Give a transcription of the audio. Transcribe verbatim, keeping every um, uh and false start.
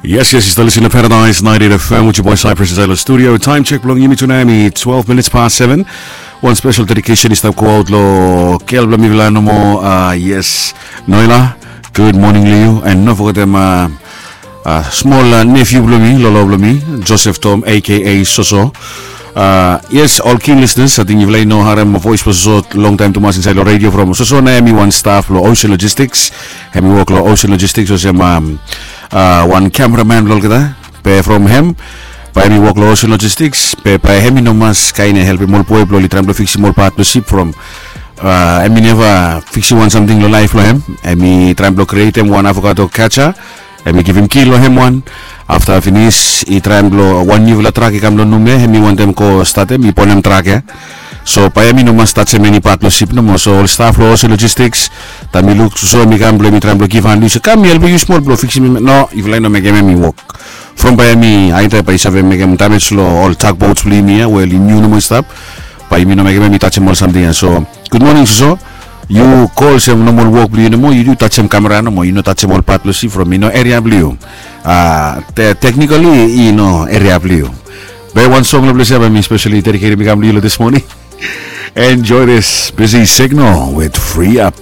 Yes, yes, yu stap lisin long Paradise ninety-eight F M with your boy Cypress inside the studio. Time check blong yumi tonight, mi twelve minutes past seven. One special dedication is stap go out lo girl blong mifala nomo. Uh, yes, Noela, good morning to you. And no forget them, uh, uh, small uh, nephew blong mi, lolo blong mi, Joseph Tom, A K A Soso. Uh, yes, all keen listeners, I think yufala i no harem voice blong Soso long time tumas inside lo radio from Soso na hemi one staff lo Ocean Logistics. Hemi wok lo Ocean Logistics olsem um, uh, one cameraman blong olgeta. Be from hem, bae hemi wok lo Ocean Logistics, be bae hemi no mas kain helpim ol boy blong oli traem blong fiksim ol part blong sip from uh, hemi neva fiksim wan samting lo laef lo hem. Hemi traem blong krietem wan avocado catcher. Hemi givim ki lo hem wan. Afta finis i traem blong wan niufala trak i kam lo Nume, hemi wantem go statem, i bonem trak ya. So bae hemi no mas tajem eni pat blong sip nomo. So ol staf lo Ocean Logistics, taem mi luk Soso hemi kam blong hemi traem blong givhan, yu se kam mi helpim yu smol blong fiksim. No, yufala i no mekem hemi wok. From bae hemi aida bae i save mekem damage lo ol tugboats blong yumi ya we oli niu nomo i stap. Bae yumi no mekem hemi tajem ol samting ya. So good morning Soso. Yu go olsem nomol wok blong yu nomo, yu tajem kamera nomo, yu no tajem ol pat blong sip from i no eria blong yu. Uh, te- technically i no eria blong yu. Be wan song lo ples ya bae mi specially dediketim i kam blong yu lo this morning. Enjoy this busy signal with Free Up.